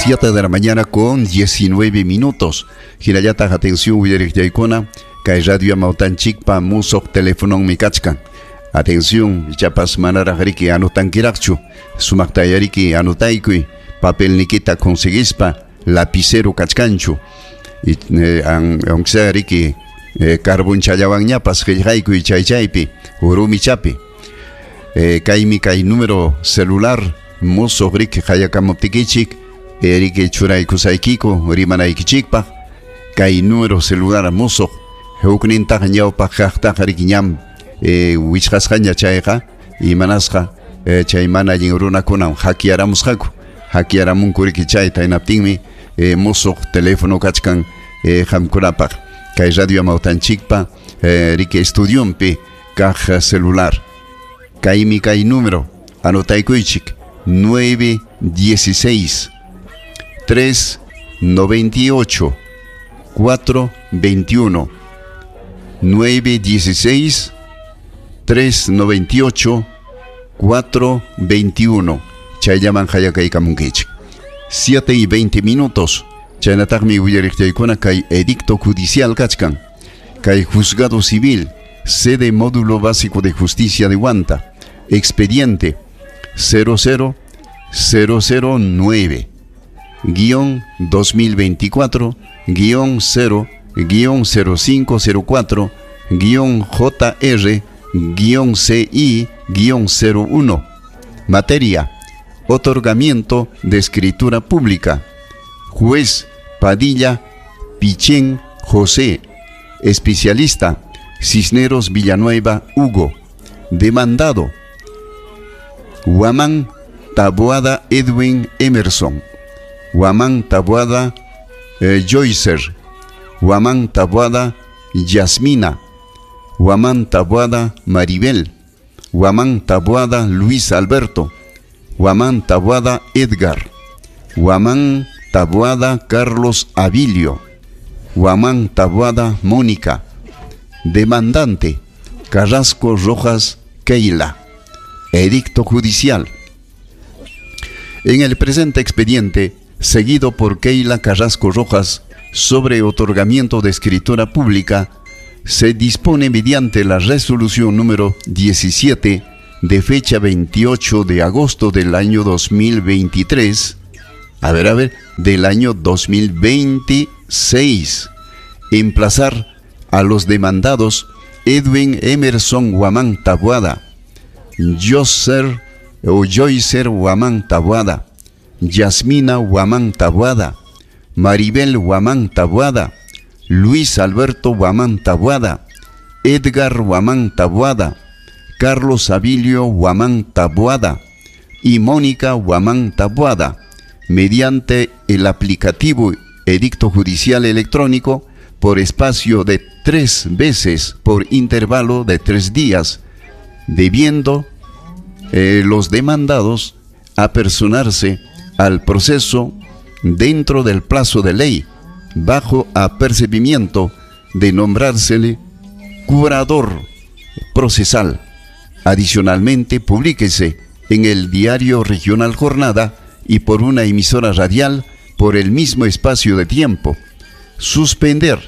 7 de la mañana con 19 minutos. Hinallataq atención uyariqllaykuna, kay radio amawtanchikpa musuq telefononmi kachkan. Atención, ichapas manaraq riki anotankiraqchu, sumaqtayariki anotaykuy, papelnikita conseguispa, lapicero kachkanchu. Aunque sea riki carbonchallawanñapas qillqaykuy chay chaypi, urumichapi. Kaymi kay número celular musuq riki qayakamuptikichik, riki churaykusaykiku rimanaykichikpaq, kay número celular musuq huknintaq ñawpaq kaqtaqa riki ñam wichqasqaña chayqa, imanasqa chay mana allin runakunam hakyaramusqaku, hakyaramunku riki chayta, hinaptinmi musuq teléfono kachkan qamkunapaq kay radio amawtanchikpa riki estudionpi kaq celular. Kaymi kay número, anotaykuychik, 916 398 421, 916 398 421. Chayllaman hayakaykamunkichik. 7 y 20 minutos. Chaynataqmi willariqllaykuna kay edicto judicial kachkan. Kay juzgado civil, sede módulo básico de justicia de Huanta, expediente 00009 guión 2024 guión 0 guión 0504 guión JR guión CI guión 01. Materia: otorgamiento de escritura pública. Juez Padilla Pichén José. Especialista Cisneros Villanueva Hugo. Demandado Huamán Taboada Edwin Emerson, Huamán Taboada Joycer, Huamán Taboada Yasmina, Huamán Taboada Maribel, Huamán Taboada Luis Alberto, Huamán Taboada Edgar, Huamán Taboada Carlos Abilio, Huamán Taboada Mónica. Demandante Carrasco Rojas Keila. Edicto judicial. En el presente expediente, seguido por Keila Carrasco Rojas, sobre otorgamiento de escritura pública, se dispone mediante la resolución número 17 de fecha 28 de agosto del año 2023, del año 2026, emplazar a los demandados Edwin Emerson Huamán Taboada, Joycer Huamán Taboada, Yasmina Huamán Taboada, Maribel Huamán Taboada, Luis Alberto Huamán Taboada, Edgar Huamán Taboada, Carlos Abilio Huamán Taboada y Mónica Huamán Taboada, mediante el aplicativo Edicto Judicial Electrónico por espacio de 3 veces por intervalo de 3 días, debiendo los demandados apersonarse al proceso dentro del plazo de ley, bajo apercibimiento de nombrársele curador procesal. Adicionalmente, publíquese en el diario Regional Jornada y por una emisora radial por el mismo espacio de tiempo. Suspender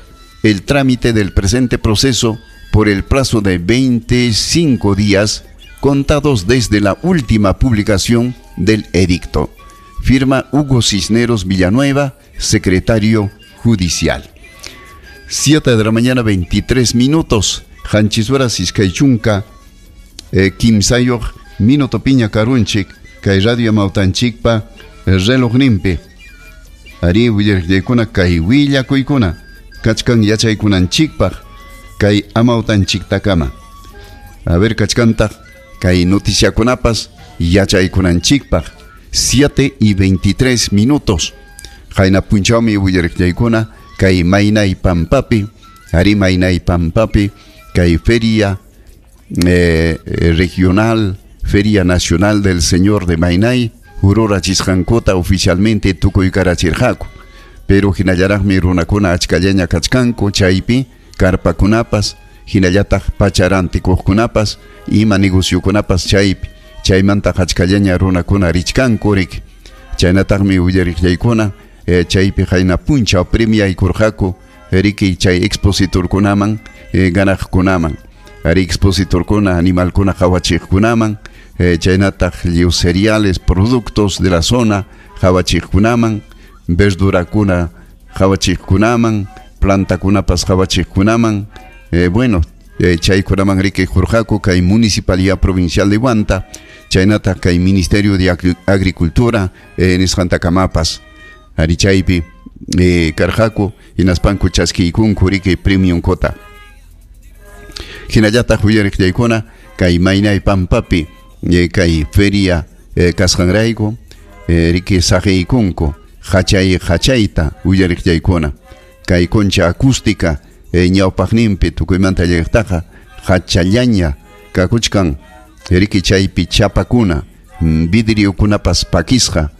el trámite del presente proceso por el plazo de 25 días contados desde la última publicación del edicto. Firma Hugo Cisneros Villanueva, secretario judicial. 7 de la mañana, 23 minutos. Hanchisuara Siskaychunka, Kimsayoq, Minuto Piña Karunchik, kay radio Mautanchikpa, reloj nimpi. Ari willarqaykuna kay willakuykuna, kachkan yachaykunanchikpaq, kay amawtanchiktakama. A ver, kachkantaq, kay noticiakunapas yachaykunanchikpaq. 7 y 23 minutos. Qayna punchawmi willarqaykuna kay Maynay Pampapi, ari Maynay Pampapi, kay feria regional, Feria Nacional del Señor de Mainay, hururachisqankuta oficialmente tukuykarachirqaku. Pero hinallaraqmi runakuna achkallaña kachkanku chaypi karpakunapas, hinallataq pacharantikuqkunapas, ima negociokunapas chaypi, chaymanta achkallaña runakuna richkanku rik. Chaynataqmi willariqllaykuna chaypi qayna punchaw premiaykurqaku riki chay expositorkunaman ganaqkunaman. Ari expositorkuna animalkuna qawachiqkunaman, chaynataq lliw cereales, productos de la zona qawachiqkunaman, verdurakuna qawachiqkunaman, plantakunapas qawachiqkunaman, bueno, chaykunaman riki qurqaku kay Municipalidad Provincial de Huanta, chaynataq kay Ministerio de Agricultura nisqantakamapas. Ari chaypi karqaku hinaspanku chaskiykunku riki premiumkuta. Hinallataq willariqllaykuna kay Maynay Pampapi kay feria kasqanrayku riki saqiykunku hachay hachayta willariqllaykuna kay concha acústica ñawpaqninpi tukuymanta llaqtaqa hachallaña kakuchkan riki chaypi chapakuna vidriokunapas pakisqa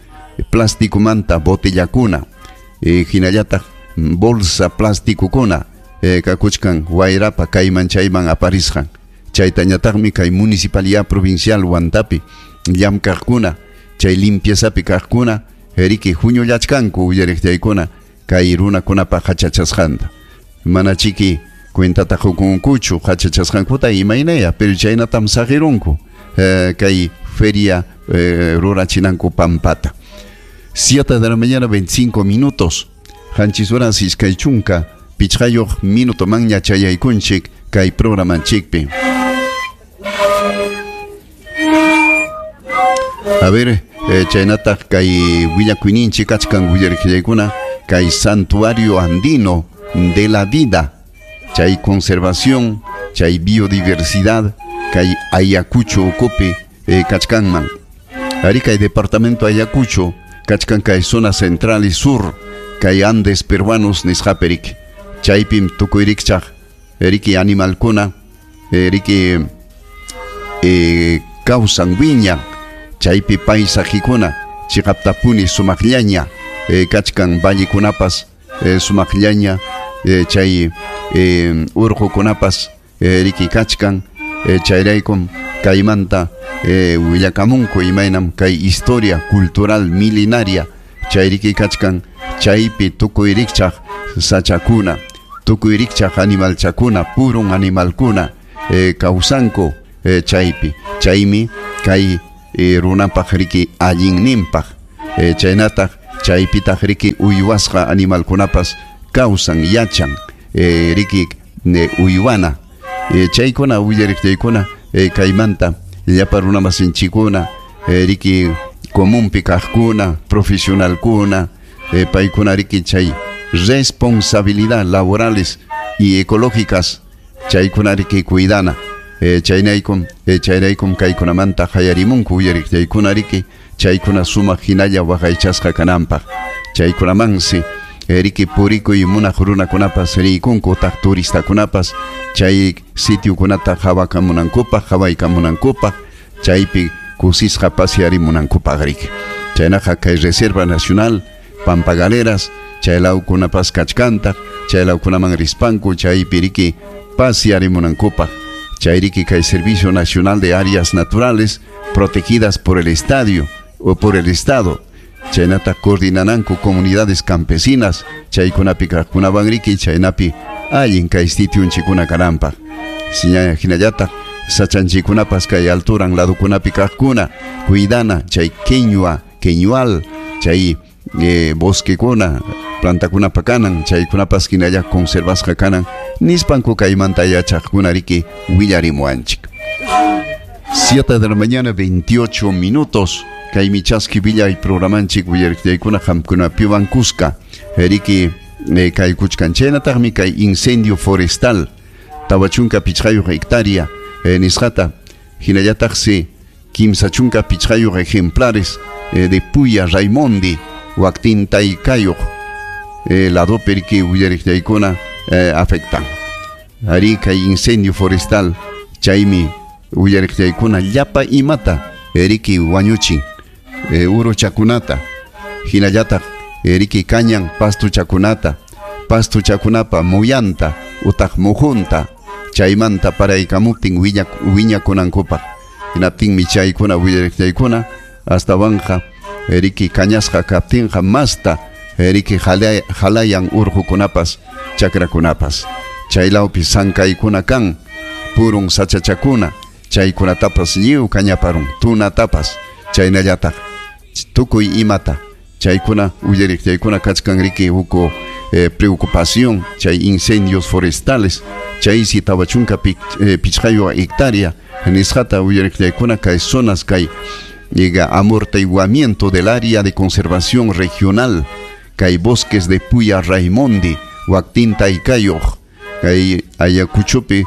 plasticomanta botellakuna hinallataq bolsa plasticokuna kakuchkan wayrapa kayman chayman aparisqan. Chaytañataqmi kay Municipalidad Provincial Huantapi llamkaqkuna chay limpiazapi kaqkuna riki huñullachkanku willariqllaykuna kay runakunapa hachachasqanta. Mana chiki cuentata qukunkuchu hachachasqankuta imaynaya, pero chaynatam saqirunku kay feria rurachinanku pampata. 7 de la mañana 25 minutos. Qanchis horas iskay chunka pichqayuq minuto manña chayaykunchik kay programanchikpi. A ver, chaynataq kay willakuyninchik kachkan willariqllaykuna kay Santuario Andino de la Vida, chay conservación, chay biodiversidad, kay Ayacucho ukupi kachkanman. Ari kay departamento Ayacucho kachkan kay zona central y sur, kay Andes peruanos nisqapirik. Chaypim tukuy rikchaq riki animalkuna riki kawsan wiñan, chaypi paisajikuna chiqaptapuni sumaqllaña kachkan vallekunapas sumaqllaña chay urqukunapas riki kachkan, chayraykum kaymanta willakamunku imaynam kay historia cultural milenaria chayriki kachkan, chaypi tukuy rikchaq sachakuna, tukuy rikchaq animalchakuna, purun animalkuna kawsanku chaypi. Chaymi kay runapaq riki allinninpaq, chaynataq chaypitaq riki uywasqa animalkunapas kawsan yachan riki uywana. Chaykuna willariqllaykuna kaymanta llapa runamasinchikuna riki comunpi kaqkuna, profesionalkuna, paykuna riki chay responsabilidad laborales y ecológicas chaykuna riki cuidana. Chaynaykum chayraykum kaykunamanta hayarimunku willariqllaykuna riki chaykuna sumaq hinalla waqaychasqa kananpaq. Chaykunamansi riki purikuy munaq runakunapas riykunku utaq turistakunapas chay sitiokunata qhawakamunankupaq, qhawaykamunankupaq, chaypi kusisqa pasearimunankupaq riki. Chaynaqa kay Reserva Nacional Pampa Galeras chay lawkunapas kachkantaq, chay lawkunaman rispanku chaypi riki pasearimunankupaq. Chay riki kay Servicio Nacional de Áreas Naturales protegidas por el estadio o por el Estado. Chaynata coordinananku comunidades campesinas chaykunapi kaqkunawan riki chaynapi allin kay sitiunchikuna kananpaq. Hinallataq sachanchikunapas kay alturan ladukunapi kaqkuna cuidana chay queñua, queñual, chay bosquekuna, plantakunapa kanan, chaykunapas hinalla conservasqa kanan nispanku kaymanta yachaqkuna riki willarimuwanchik. 7 de la mañana 28 minutos. Kaymi chaski villay programanchik willariqllaykuna qamkunapiwan kuska riki kaykuchkan. Chaynataqmi kay incendio forestal 45 hectárea nisqata hinallataqsi 35 ejemplares de Puya Raimondi waqtintaykayuq ladopi riki willariqllaykuna afectan. Ari kay incendio forestal chaymi willariqllaykuna llapa imata riki wañuchin uruchakunata hinallataq riki kañan pastuchakunata, pastuchakunapa muyanta utaq mujunta chaymanta paraykamuptin wiñakunankupaq. Hinaptinmi chaykuna willariqllaykuna astawanqa Riki kañasqa kaptinqa masta riki halayan urqukunapas chakrakunapas. Chaylawpi sankaykuna kan purun sachachakuna chaykunatapas lliw kañaparun tunatapas chaynallataq tukuy imata chaykuna uyariq chaykuna kachkan riki huk preocupación chay incendios forestales chaysi 40 pichqayuq hectárea nisqata uyariq chaykuna kay zonas kay llega amortiguamiento del área de conservación regional kay bosques de Puya Raimondi waktinta ikayuq kay Ayacuchopi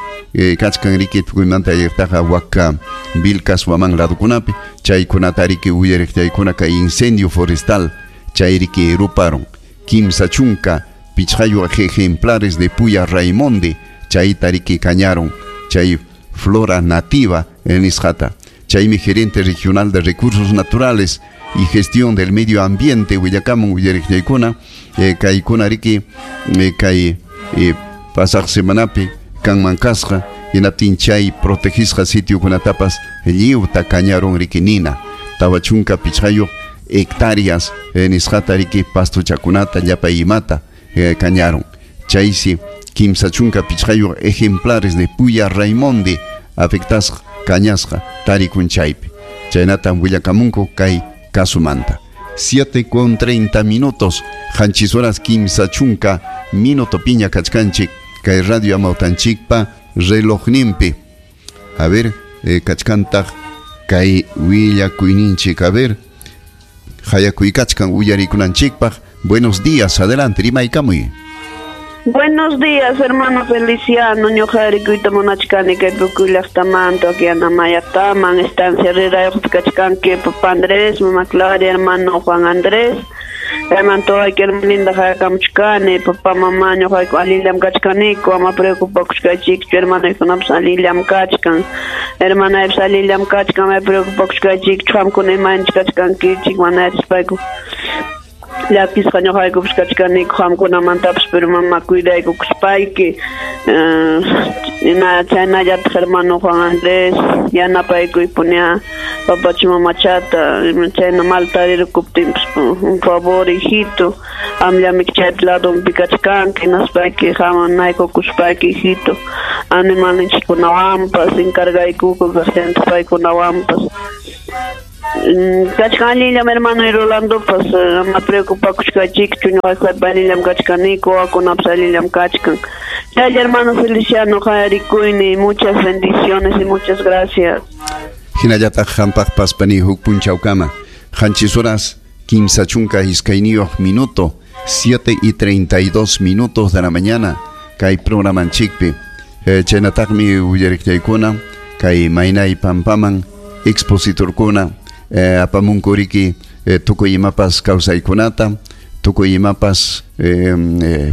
kachkan riki tukuymanta ayaqtaqa waka Vilcas Huamán ladukunapi chaykunata riki uyariq chaykuna kay incendio forestal chay riki ruparun 35 ejemplares de Puya Raimondi chayta riki kañarun chay flora nativa nisqata. Chaymi gerente regional de recursos naturales y gestión del medio ambiente willakamun uyariq chaykuna kaykuna riki kay pasaq semanapi kanman kasqa hinaptin chay protegisqa sitiokunatapas lliwta kañarun riki nina 45 hectáreas nisqata riki pastuchakunata llapa imata kañarun chaysi 35 ejemplares de Puya Raimondi afectasqa kañasqa tarikun chaypi chaynatam willakamunku kay kasumanta. 7:30 qanchis horas 30 minuto piña kachkanchik kay radio amawtanchikpa relojninpi. A ver, kachkantaq kay willakuyninchik, a ver, hayakuykachkan uyarikunanchikpaq. Buenos días, adelante, rimaykamuy. Buenos días, hermano Feliciano. Ñuqarikuyta munachkani kay Pucuy llaqtamanta, Anamayaqtaman, estancia Rirayuqpi kachkanki, papá Andrés, mamá Claria, hermano Juan Andrés. Hermano todavía hermano linda hayakamuchkani, papá, mamá, ñuqayku allillam kachkaniku, ama preocupakushkaychikchu, hermanoykunapas allillam kachkan. Hermanaypas allillam kachkan, ama preocupakushkaychikchu, qamkuna imayna kachkankichik, mana yachaspayku. Llakisqa ñuqaykupas kachkaniku qamkunamantapas, pero mamá cuidaykukuspayki. Chaynallataq hermano Juan Andrés, yanapaykuypuña papacha mamachata, chayna mal tarirukuptinpas, un favor hijito, amllamiki chaypi ladunpi kachkanki, hinaspayki hamanaykukuspayki hijito, animalninchikkunawanpas, encargaykuku kaqllantaq paykunawanpas. Kachkan allillam hermano y Rolandopas, ama preocupakushkaychikchu, ñuqaykupa allillam kachkaniku, wawakunapas allillam kachkan. Chaylla hermano Feliciano, hayarikuyni, muchas bendiciones y muchas gracias. Hinallataq hampaqpas pani huk punchawkama, 7 horas 32 minuto, 7:32 de la mañana, kay programanchikpi. Chaynataqmi uyariqchaykuna, kay maynay pampaman expositorkuna, apamunkuriki tukuy imapas kawsaykunata, tukuy imapas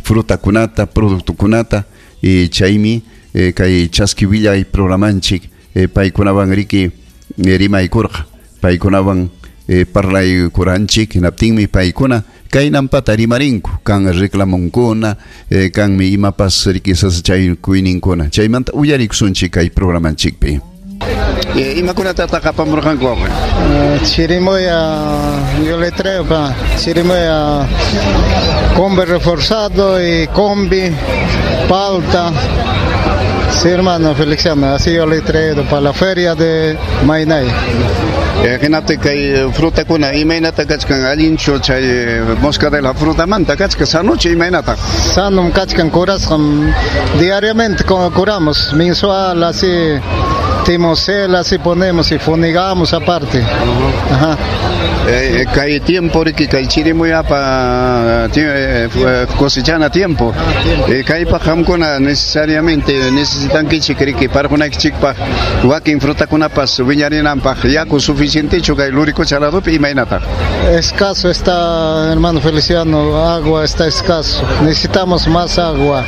frutakunata, productokunata, y chaymi kay chaskiwillay programanchik paykunawan riki rimaykurqa, paykunawan parlaykuranchik, hinaptinmi paykuna kaynampata rimarinku, kan reclamunkuna, kanmi imapas riki sasachaykuyninkuna. Chaymanta uyarikusunchik kay programanchikpi. Imakunatataq apamurqanku wawqi? Chirimoya, yo le traigo pa chirimoya, combi reforzado y combi, palta. Sí, hermano Feliciano, así yo le he traído para la feria de Mainay. Hinaptin kay frutakuna imaynata kachkan allinchu chay mosca de la frutamanta kachkan sanuchu imaynata? Sanum kachkan curasqam, diariamente curamos, mensual así, timocel así ponemos y funigamos aparte. Ajá. Kay tiempo riki kay chirimuyapa cosechana tiempo. Kaypaq qamkuna necesariamente necesitankichik riki parqunaykichikpaq wakin frutakunapas wiñarinanpaq yaku suficientechu kay Luricocha ladopi imaynataq? Escaso está, hermano Feliciano, agua está escaso. Necesitamos más agua.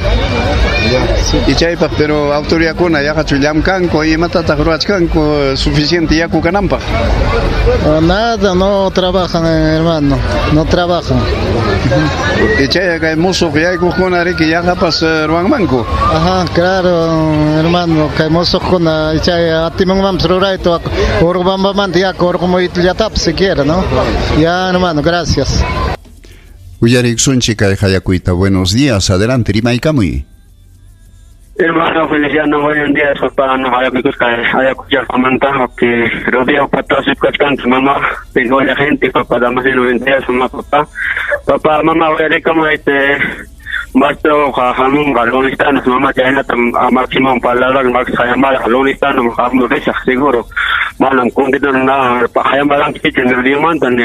Y chaypaq pero autoridadkuna yaqachu llamkanku imatataq ruwachkanku suficiente yaku kananpaq? Nada, no trabajan, hermano, no trabajan. Y chay kay musuq yaykuqkuna riki yaqapas ruwanmanku. Ajá, claro, hermano, kay musuqkuna chay atimanmanpas rurayta Urubambamanta yaku urqumuyllatapas siquiera, ¿no? Ya, hermano, gracias. Uyariksunchik kay hayakuyta. Buenos días, adelante, rimaykamuy. Hermano Feliciano, buenos días, papá, no Ayacucho, que rodeo patas y cachcantes, mamá, tengo la gente, papá, damasino, buenos días, mamá, papá, papá, mamá, voy a como este, Maestro jamun galonistano, mamá, chaynata máximo palabra, max hayamara galonistano, jamun risa, seguro. Manam kundito na hayamaran kichen rimanta ni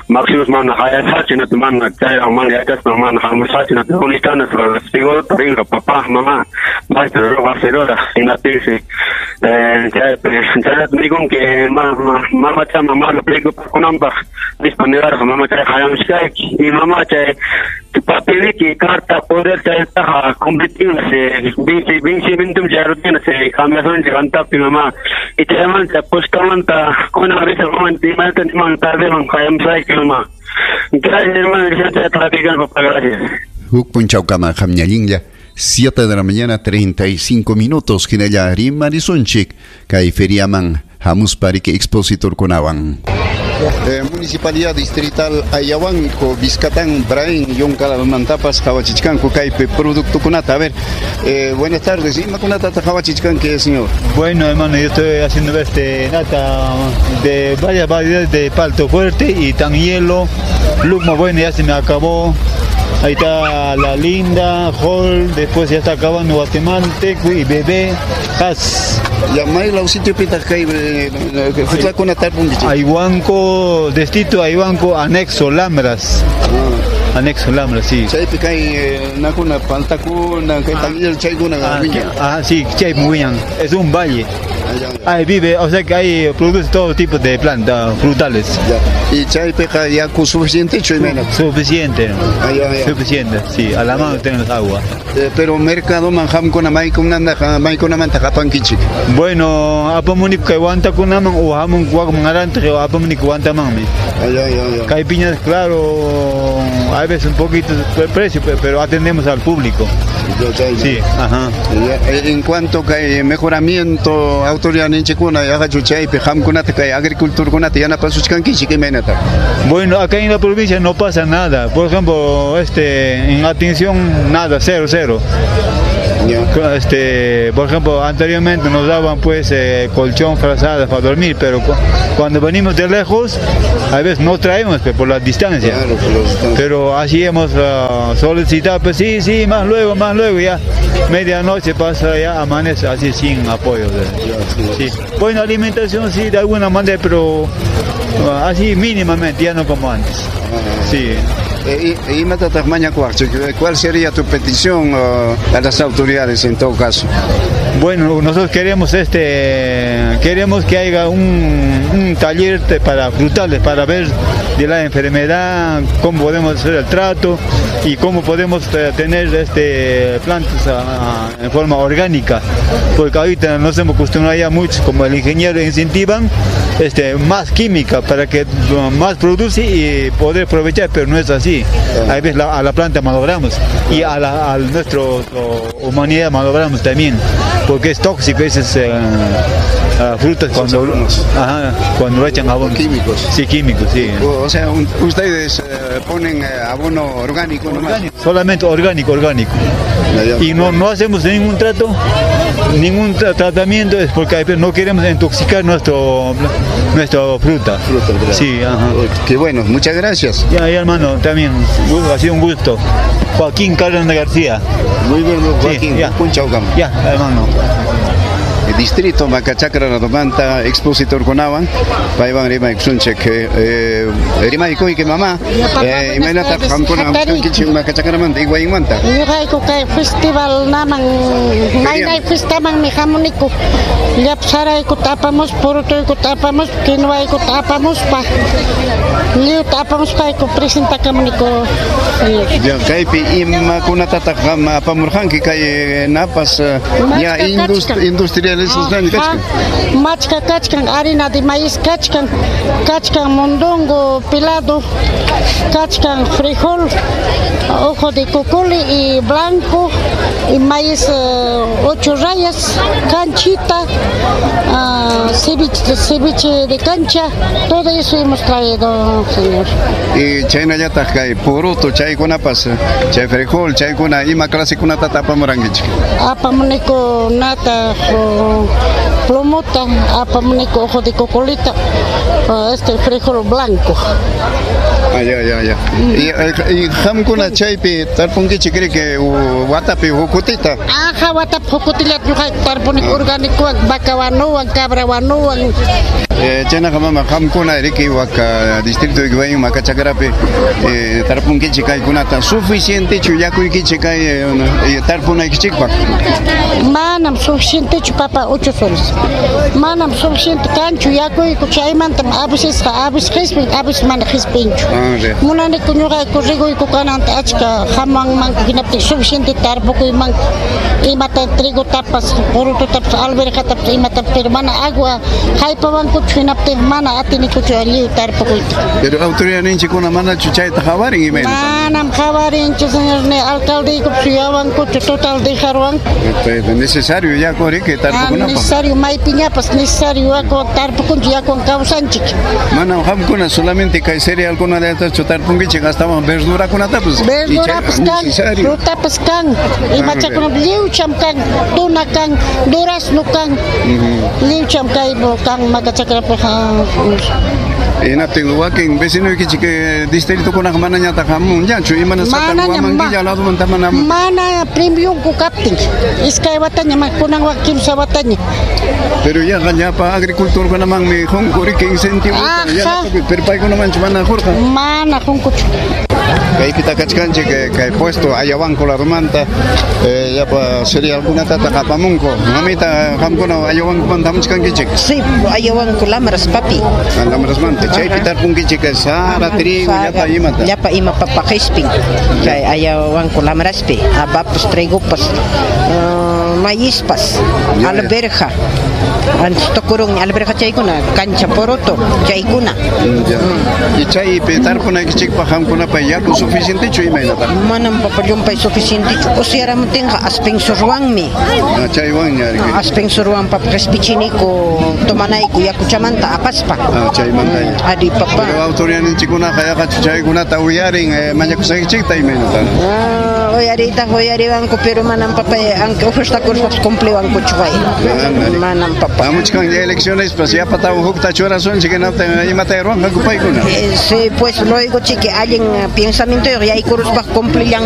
máximo mana hayasachi na mana chay man yachas mana hamusachi na galonistano, seguro taringa papá, mamá, maestro roga cerora, inatirse. Chay digo que mamá cha mamá lo pliego kunamba, disponer mamá chay hayamushkai y mamá chay papeliki carta poder chaytaqa convertirse vencimiento se cambiación levanta mamá y te manda postamanta con una vez momento tarde mamá. Gracias, hermano, gracias. Huk punchawkama qamñallinlla 7 de la mañana 35 minutos hinalla rimarisunchik kay feriaman hamuspa riki expositorkunawan. Municipalidad Distrital Ayahuanco, Vizcatán, Brain, Yoncalamantapas, qawachichkanku kaypi productokunata. A ver, buenas tardes. ¿Imakunatata qawachichkanki, señor? Bueno, hermano, yo estoy haciendo nata de varias variedades de palto fuerte y tan hielo. Lucmo, bueno, ya se me acabó. Ahí está la linda, Hall, después ya está acabando Guatemalteco y Bebé, Has. Ya, maylaw sitiopitaq kay frutakunata tarpunkichik? Ayhuanco, distrito Ayhuanco, anexo Lambras. Anexo Lambras, sí. Chaypi kay nakuna paltakuna, kay tanguillo chaykuna wiñan. Ah, sí, chaypi wiñan. Es un valle. Ahí vive, o sea que ahí produce todo tipo de plantas frutales. Ya. Y chaypiqa yaku suficientechu imayna? Suficiente. Suficiente, sí, a la mano tenemos agua. Pero mercadoman qamkuna maykunamanta qapankichik? Bueno, apamunik kay wantakunaman o hamun wakman arantaq o apamunik wantamanmi. Kay piñas, claro, a veces un poquito de precio, pero atendemos al público. Sí, ajá. En cuanto kay mejoramiento autoridad ninchikuna yaqachu chaypi qamkunata kay agriculturkunata yanapasuchkankichik imaynata? Bueno, acá en la provincia no pasa nada. Por ejemplo, en atención nada, cero, cero. Por ejemplo, anteriormente nos daban pues colchón, frazadas para dormir, pero cuando venimos de lejos, a veces no traemos pues, por la distancia. Claro, por la distancia. Pero así hemos solicitado, pues sí, sí, más luego, ya medianoche pasa, ya amanece así sin apoyo. Sí. Bueno, alimentación sí, de alguna manera, pero así mínimamente, ya no como antes. Sí. ¿Cuál sería tu petición a las autoridades en todo caso? Bueno, nosotros queremos queremos que haya un taller para frutales, para ver de la enfermedad, cómo podemos hacer el trato y cómo podemos tener plantas en forma orgánica, porque ahorita nos hemos acostumbrado ya mucho, como el ingeniero incentivan más química para que más produce y poder aprovechar, pero no es así. A veces a la planta malogramos y a nuestra humanidad malogramos también, porque es tóxico esas frutas cuando lo echan abono. Químicos. Sí, químicos, sí. O sea, ustedes ponen abono orgánico nomás. Orgánico, solamente orgánico. Y no hacemos ningún trato, ningún tratamiento, es porque no queremos intoxicar nuestra fruta. Sí, ajá. Qué bueno, muchas gracias. Ya, hermano, también, ha sido un gusto. Joaquín Cárdenas García. Muy bien, Joaquín. Sí, ya. Ya, hermano. distrito Macachacra ladomanta expositorkunawan paywan rimaykusunchik rimaykuyki mama imaynataq qamkuna hamuchkankichik Macachacramanta Higuaínmanta. Ñuqayku kay festival naman maynay fiestamanmi hamuniku llapa saraykuta apamuspa purutuykuta apamuspa quinoaykuta apamuspa lliwta apamuspayku presentakamuniku señor. Ya kaypi imakunatataq qam apamurqanki kay napas ya industrializasqaña kachkan. Machka kachkan harina de maíz kachkan, kachkan mondongo pelado, kachkan frijol, ojo de cocoli y blanco, y maíz 8 rayas, canchita, ceviche de cancha, todo eso hemos traído, señor. Y chaynallataq kay poroto chaykunapas, chay frijol chaykuna ima clasekunatata apamurankichik? Apamuniku nata, plomota, apamuniku ojo de cocolita, frijol blanco. Ah, ya, ya, ya. Y qamkuna chaypi tarpunkichik riki watapi hukutita? Aja, watapi hukutillata ñuqayku tarpuniku orgánicowan, vaca wanuwan, cabra wanuwan. Chaynaqa mama qamkuna riki waka distrito Higuaín Macachacrapi tarpunkichik kaykunata suficientechu yakuykichik kay tarpunaykichikpaq? Manam suficientechu papa 8 soles. Manam suficiente kanchu yakuyku chaymantam a vecesqa a veces qispin a veces mana qispinchu. Munaniku ñuqayku riguyku kananta achka hamuwanmanku hinaptin suficiente tarpukuymanku imata trigotapas purututapas alverjatapas imatapas pero mana agua haypawankuchu hinaptin mana atinikuchu lliw tarpukuyta. Pero autoridadninchikkuna manachu chayta qawarin imayna? Manam qawarinchu señor ni alcaldeykupas suyawankuchu total dejarwanku. Necesario yaku riki tarpukunapaq. Necesario maypiñapas necesario yaku tarpukunchik yakuwan kawsanchik. Manam qamkuna solamente kay cerealkunallatachu tarpunkichik astawan verdurakunatapas. Verdurapas kan, frutapas kan, imachakunapas lliwcham kan, tuna kan, durazno kan, lliwcham kay kan Macachacrapiqa. Hinaptin wakin vecinoykichik distritokunaqa manañataq hamunñachu imanasqataq Huamanguilla ladumanta mana mana premiumku kaptin iskay wataña kunan kimsa wataña. Pero yaqa llapa agricultorkunamanmi qunku riki incentivo pero paykunamanchu mana qurqa? Mana qunkuchu. Kaypita kachkanchik kay puesto Ayahuanco ladumanta llapa cerealkunatataq apamunku. Mamita qamkuna Ayahuancomanta hamuchkankichik? Sí, Ayahuanco Lamras papi. Lamrasmanta chaypi tarpunkichik sara, trigo, llapa imata. Llapa ima papa qispin kay Ayahuanco Lamraspi, apapas, trigopas, maízpas, alberja. Antes tukurun alberja chaykuna, cancha poroto chaykuna. Y chaypi tarpunaykichikpaq qamkunapa yaku suficientechu imaynataq? Manam papa llumpay suficientechu. Usyaramutinqa aspensurwanmi. Chaywanña riki. Aspensurwan papa qispichiniku tomanayku yakuchamanta apaspa. Chaymantaña. Ari papa. Pero autoridadninchikkunaqa yaqachu chaykunata uyarin mañakusqaykichikta imaynata? Uyariytaq uyariwanku pero manam papa aunque ofertakuruspapas cumpliwankuchu way. Manam papa. Hamuchkan elecciones pues yapatawan hukta churasunchik hinaptin imata ruwanqaku paykuna? Sí, pues luego chiqui allin pensamiento yaykuruspa cumplillan.